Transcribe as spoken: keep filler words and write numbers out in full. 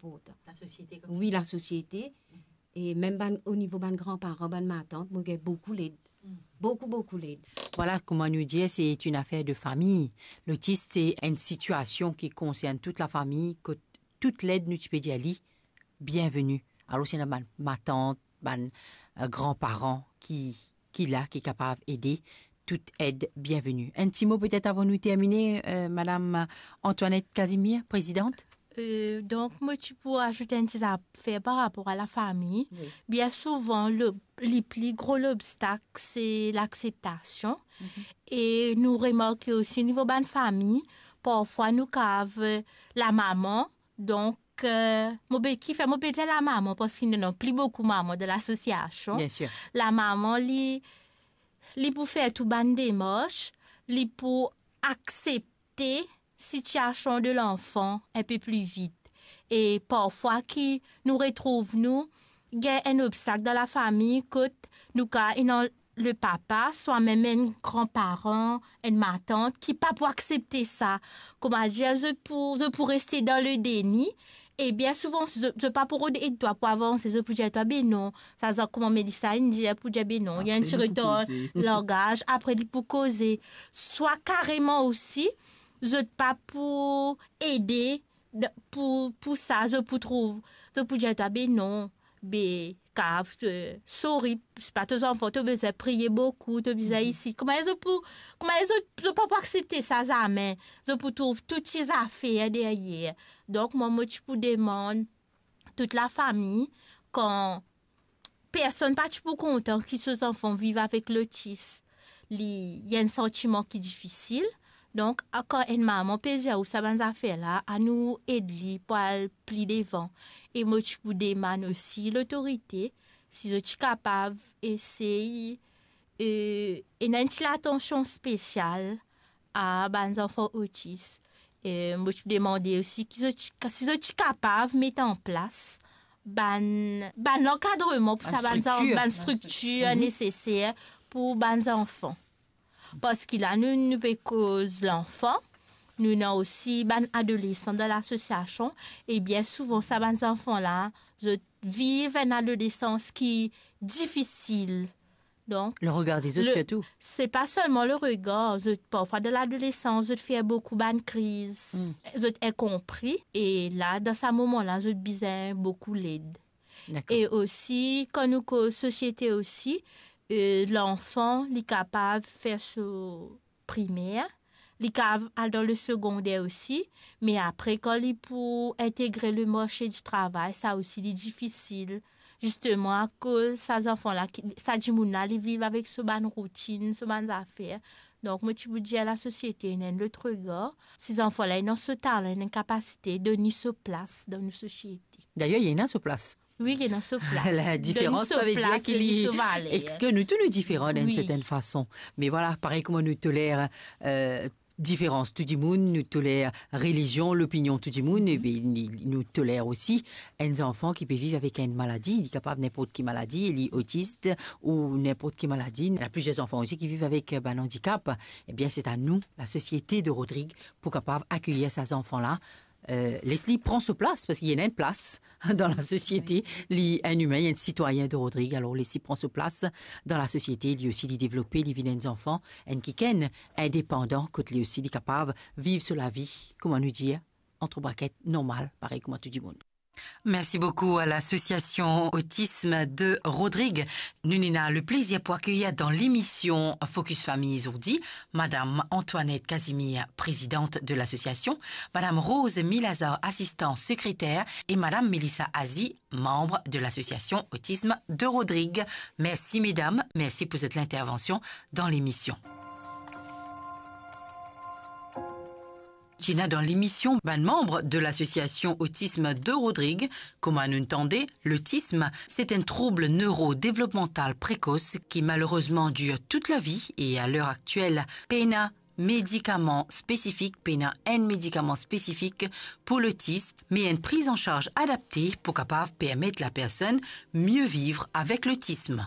inportan. Lasosiete koumsa. Wi, lasosiete. E mem bann, o nivo bann granparan, bann matant, mo gagn boukou led. Boukou, boukou led. Vwala, kouma nou dir, se enn afer de fami. Lotis, se enn sitiasion ki konsern tou lafami, kot tou led nou ti pe dir li, bienveni. Alor, si ena bann matant, bann, eh, granparan ki, ki la, ki kapav ede, tou ed bienveni. Enn ti mo petet avan nou termine, eh, Madam Antoinette Casimir, prezidant? Eh, donk, mo ti pou azout enn ti zafer par rapor a lafami. Wi. Bien souvan, le, li pli gro lobstak, se lakseptasion. Mhm. E nou remarke osi, o nivo bann fami, parfwa nou kav, eh, lamama, donk, eh, mo pe, kifer mo pe dir lamama, parski nou ena pli boukou mama dan lasosiasion. Bien sir. Lamama, li, li pou fer tou bann demars, li pou aksepte sitiasion de lanfan enpe pli vit. E parfwa ki nou retrouv nou, gagn enn obstak dan lafami kot nou kav ena le papa, swa mem enn granparan, enn matant ki pa pou aksepte sa. Kouma dir, zot pou, zot pou reste dan le deni. E bien souvan, zot, zot pa pou rod ed twa pou avanse, zot pou dir twa, "Be non, sa, sa kouma Melissa inn dir," pou dir, "Be non, ena enn ti retar langaz," apre li pou koze. Swa kareman osi, zot pa pou ede, d-, pou, pou sa, zot pou trouv, zot pou dir twa, "Be non, be, kav, eh, sorry, se pa to zanfan, to bizin priye boukou, to bizin isi." Kouma zot pou, kouma zot, zot pa pou aksepte sa zame. Zot pou trouv tou ti zafer deryer. Donk, mwa, mo ti pou demann tou lafami, kan personn pa ti pou kontan ki so zanfan viv avek lotis, li, li enn santiman ki difisil. Donk, a, kan enn mama pe dir ou sa bann zafer la, anou ed li pou al pli devan. E mo ti pou demann osi lotorite, si zot ti kapav esey, eh, ena enn ti latansion spesial a bann zanfan otis. Eh, mo ti pou demande osi ki zot ti ka-, si zot ti kapav met an plas bann, bann lankadreman pou sa bann zan-, bann striktir neseser pou bann zanfan. Parski la, nou, nou pe koz lanfan, nou ena osi bann adolesan dan lasosiasion, e bien souvan, sa bann zanfan la, zot viv enn adolesans ki difisil. Donk, le regar dezot, sirtou. Se pa selman le regar, zot, parfwa dan ladolesans, zot fer boukou bann kriz, zot inkonpri, e la, dan sa moman la, zot bizin boukou led. Dakor. E osi, kan nou koz sosiete osi, eh, lanfan, li kapav fer so primer, li kav al dan le segonder osi, me apre, kan li pou integre le marse di travay, sa osi, li difisil. Zisteman, akoz sa zanfan la, ki, sa dimoun la, li viv avek so bann routinn, so bann zafer. Donk, mo ti pou dir lasosiete ena enn lot regar. Si zanfan la ena so talan, ena enn kapasite, donn li so plas dan nou sosiete. Dayer, li ena so plas. Wi, li ena so plas. Ladiferans, donn li so plas, pa ve dir ki li, donn li so valer. Exkli nou tou, nou diferan dan enn sertenn fason. Me vwala, parey kouma nou toler, eh, diferans tou dimoun, nou toler relizion, lopinion tou dimoun, epi nou, nou toler osi enn zanfan ki pe viv avek enn maladi, li kapav ninport ki maladi, li otis ou ninport ki maladi. Ena plizier zanfan osi ki viv avek, eh, bann andikap. Ebien, se a nou, lasosiete de Rodrig, pou kapav akeyir sa zanfan la, eh, les li pran so plas, parski li ena enn plas dan lasosiete, li enn imin, li enn sitwayin de Rodrig, alor les li pran so plas dan lasosiete, li osi li devlope, li vinn enn zanfan, enn kikenn indepandan, kot li osi li kapav viv so lavi, kouma nou dir, antre braket, normal, parey kouma tou dimoun. Mersi boukou a lasosiasion Autisme de Rodrig. Nou ena le plezir pou akeyir dan lemision Focus Famille zordi Madam Antoinette Casimir, prezidant de lasosiasion, Madam Rose Milazar, asistan sekreter, e Madam Melissa Azi, manb de lasosiasion Autisme de Rodrig. Mersi medam, mersi pou zot lintervansion dan lemision. Ti ena dan lemision bann manb de lasosiasion Autisme de Rodrig. Kouma nou tande, lotism, se enn troub neurodevlopmantal prekos ki malerezman dir tout lavi e a ler aktiel, pena medikaman spesifik, pena enn medikaman spesifik pou lotis, me enn prizansarz adapte pou kapav permet lapersonn mie viv avek lotism.